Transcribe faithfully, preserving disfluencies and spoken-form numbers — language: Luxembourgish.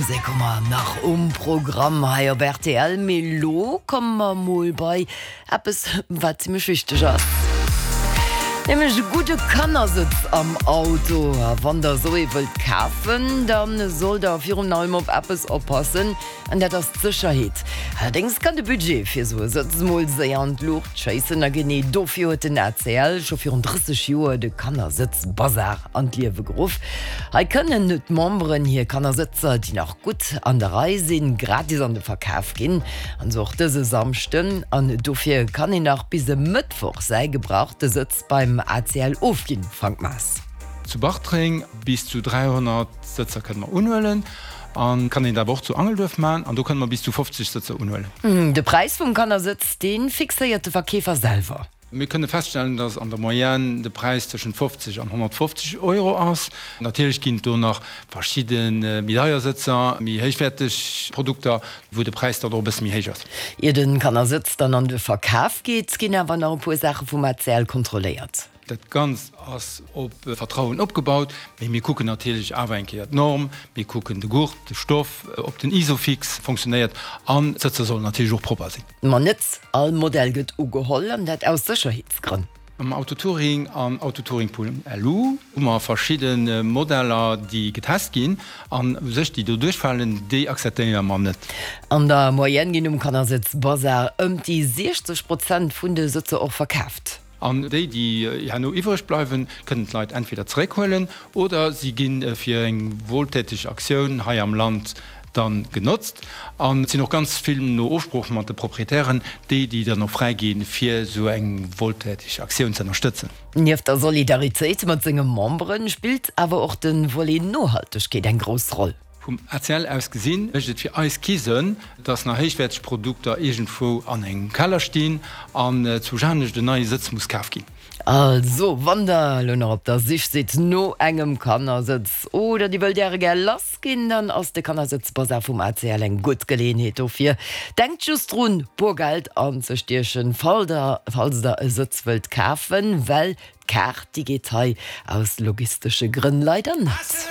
Musek hu mer nach um Programm hei op rtl, mee lo komme mer mol bei eppes wat zimmlech wichteg ass. Nämlech e gudde Kannersëtz am Auto. A wann der esou ee wëllt kafen, da sollt der virun allem op eppes oppassen, an dat ass d'Sécherheet. Allerdéngs kann de Budget fir esou e Sëtz mol séier an d'Luucht schéissen. A genee dofir huet den A C L scho virun drësseg Joer de Kannersëtz-Bazar an d'Liewe geruff. Hei kënnen d'Memberen hir Kannersëtzer, déi nach gutt an der Rei sinn, gratis an de Verkaf ginn. An esou och dëse Samschden. An dofir kann een nach bis e Mëttwoch säi gebrauchte Sëtz beim A C L ofginn. Frank Maas. Zu Bartreng bis zu dräihonnert Sëtzer kënne mer unhuelen an kann een awer och zu Angelduerf maachen an do kënne mer bis zu fofzeg Sëtzer unhuelen. De Präis vum Kannersëtz, dee fixéiert de Verkeefer selwer. Mir kënne feststellen, dass an der Moyenne de Präis tëschent fofzeg an honnertfofzeg Euro ass. Natierlech ginn et do nach verschidde méi deier Sëtzer, méi héichwäerteg Produkter, wou de Präis dann och e bësse méi héich ass. Ier de Kannersëtz dann an de Verkaf geet, ginn awer nach e puer Saache vum A C L kontrolléiert. Dat Ganzt ass op Vertrauen opgebaut, mee mir kucken natierlech awer eng Kéier d'Norm, mir kucken de Gurt, de Stoff, ob den Isofix funktionéiert an d'Sëtzer sollen natierlech och propper sinn. Ma net all Modell gëtt ugeholl, an dat aus Sécherheetsgrënn. Am Autotouring an Autotouring Punkt L U hu mer verschidde Modeller, déi getest ginn an u sech déi do duerchfalen, déi akzeptéiere mer net. An der Moyenne ginn um Kannersëtz-Bazar ëm déi siechzeg Prozent vun de Sëtzer och verkaaft. An déi, déi herno iwwreg bleiwen, kënnen d'Leit entweder zeréckhuelen oder si gi fir eng wohltäteg Aktioun hei am Land dann genotzt. An et sinn och ganz vill, no Ofsprooch mat de Proprietären, déi, déi dann och fräi ginn, fir esou eng wohltäteg Aktioun ze ënnerstëtzen. Nieft der Solidaritéit mat senge Membere spillt awer och de Volet Nohaltegkeet eng grouss Roll. Vum A C L aus gesinn, mécht et fir eis kee Sënn, dass nach héichwäerteg Produkter iergendwou an engem Keller stinn an zu anescht en neie Sëtz muss kaf ginn. Also, wann der elo nach op der Sich sidd no engem Kannersëtz oder dir wëllt äre gär lass ginn, dann ass de Kannersëtzbasar vum A C L eng gutt Geleeënheet dofir. Denkt just drun, Boergeld anzestiechen, falls der, falls der e Sëtz wëllt kafen, well d'Kaart, déi geet hei aus logistesche Grënn leider net.